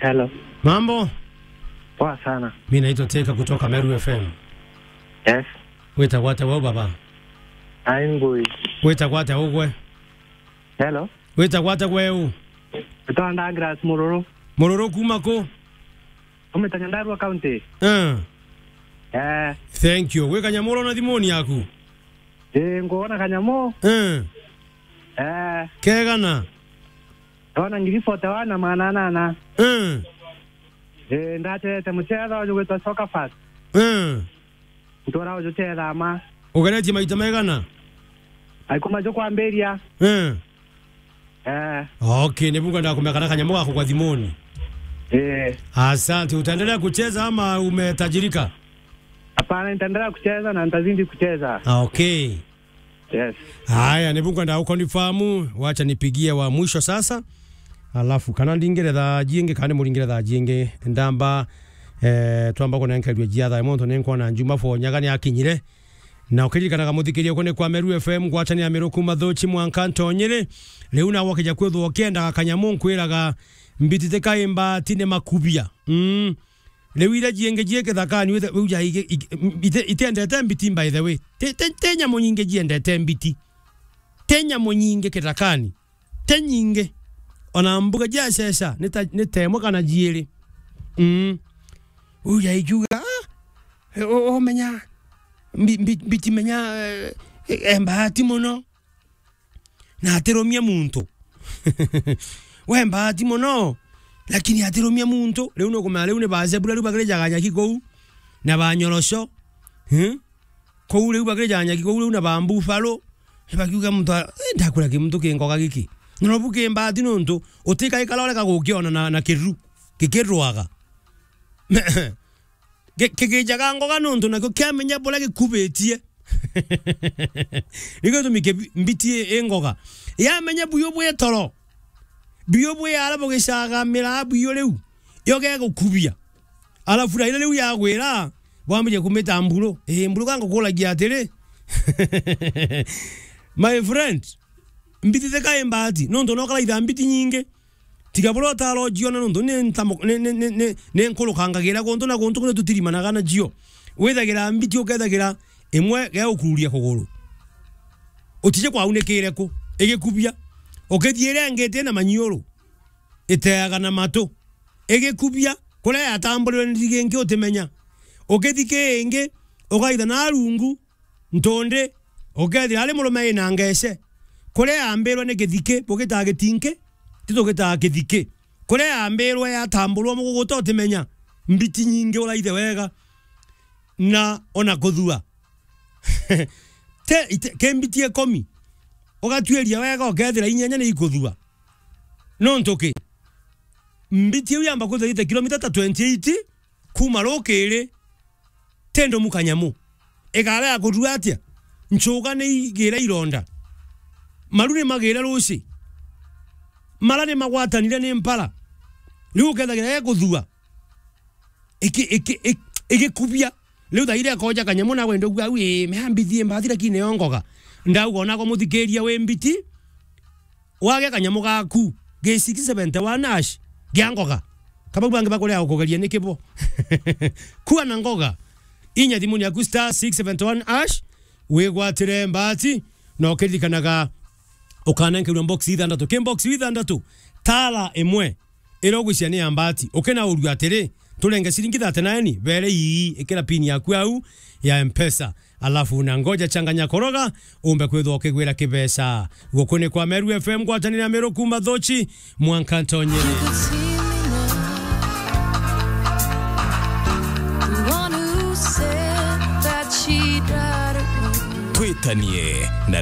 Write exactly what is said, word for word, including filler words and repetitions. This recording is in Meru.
Hello. Mambo? Poa sana. Mimi naitwa Teka kutoka Meru F M. Yes. Witagwa atia weu baba? Ai ngui. Witagwa atia ugwe? Hello. Witagwa atia weu? Witagwa Douglas Mururu. Mururu kuma ku? Kuma Nyandarua County. Eh. Eh. Thank you. Wi kanyamu urona thimuni yaku? Ii, nguona kanyamu. Eh. Eh. Kegana? Ndona ngiri forty-one na magana anana. Eh. Ii, ndaterete muchetho uju gwitwa Soccer Fast. Eh. Ntura uju chetha ma. Ugeretie maita maigana? Aikuma jo kwambiria. Eh. Eh. Okay, ni bunga ndakumeka na kanyamu gako kwa thimuni. Eh. Asante, utaendelea kucheza ama umetajirika? Hapana, nitaendelea kucheza na nitazidi kucheza. Ah, okay. Yes. Haya, ni bunga ndagukonfirm, wacha nipigie wa mwisho sasa. Alafu kana ndingire thaa jingi, kana muringire thaa jingi, ndamba, eh, twamba kunenkerua jia thaa muntu ni nkwona Njuma Fonyaga ni akinyire. Na ukiririkanaga muthikiria uku ni kwa Meru F M, ngwatanira Meru kuma Thuchi mwanka Ntonyiri. Riu nawe ukija kwithwa ukiendaga kanyamu nkwiraga mbitite kaimba tine makubia. Mm. Riu iria jingi jie kithakani, withe-, uja ige-, ige-, ite-, itendete mbiti, by the way. Te, te, te nyamu nyingi jiendete mbiti. Te nyamu nyingi kithakani. Te nyingi. Ona mbuga jia cesha, ni ta, ni ta imwe kana jiiri. Mm. Uja ikiuga, "Ah, o-, o-, omenya, mbi-, mbi-, mbiti menya, eh, eh, embati muno." Na atirumia muntu. We mbati muno, lakini atirumia muntu. Riu nukumenya riu ni ba zebra riu bakirijaga nyaki kuu, na ba nyorosho. Hmm? Kuu riu bakirijaga nyaki kuu riu na ba buffalo. Bakiuga muntu a-, eh, ndakura ki muntu ki ngoga giki. Na nobu ki mbati nontu utikaikara ureka gukiona na, na kiru, gikirwaga. Ki-, kigijaga ngoga nontu nakio kiamenya buria gikubitie. Nikio gitumi ki-, mbiti i, i ngoga. Yamenya buyu bwi toro. Buyu bwi ara bugicagamira buyu riu. Yo gegukubia. Alafu raira riu yagwira, bwambirie kumita mburu. Ii, mburu gangukuragia atiri. My friend, mbiti thika i mbati. Nontu nokaraitha mbiti nyingi. Tiga buria utarojiona nontu ni ntamo-, ni, ni, ni, ni, ni nkurukangagira guntu na guntu kuria tutirimanaga nacio. Withagira mbiti ukethagira imwe gegukururia kuguru. Utije kwaunikire ku, igikubia. Ukithii iria ingi iti na manyiuru, iteaga na matu, igikubia. Kuria yatamburirwe ni ndigi ingi utimenya. Ukithii ki ingi, ukaitha na rungu, ntundi, ukethira ari murume ina ngece. Kuria yambirwe ni kithiki, bugitaa gitinki, ti tugitaa kithiki. Kuria yambirwe yatamburwa muguguta utimenya, mbiti nyingi uraithe wega, na ona kuthua. Te, ite, ki mbiti ikomi, ugatuiria wega, ukethira inyanya ni ikuthua. Nontu ki? Mbiti iu yamba kwithirwa ite kilomita ta twenty-eight, kuma rukiri, ti ndumu kanyamu. Igara ya kuthua atia? Nchuga ni igira ironda. Maru ni magira ruci. Mara ni magwatanire ni mpara. Riu ukethagira ya kuthua. Iki, iki, iki, igikubia. Riu thaire akoja kanyamu na wende ugua, "Ui, mea mbiti i mbathi lakini yo ngoga." Ndauga ona ko muthikiria wi mbiti, wage kanyamu gaku, ge six seventy-one hash, gia ngoga. Kabau bangi bakuria gukugeria niki bo? Kua na ngoga. Inya thimuni yaku star six seventy-one hash, wigwatire mbati, na ukiririkanaga ukanenkerwa box ithandatu. Ki box ithandatu, tara imwe iria ugwiciria ni ya mbati. Ukinaurua atiri, turenge ciringi thirty-nine, bere ii, ikira pin yaku au ya Mpesa. Alafu na ngoja changanya koroga, umbe kwithwa ukigwira kibeca. Guku ni kwa Meru F M, ngwatanire ya Meru kuma Thuchi, mwanka Ntonyiri. Twitanie na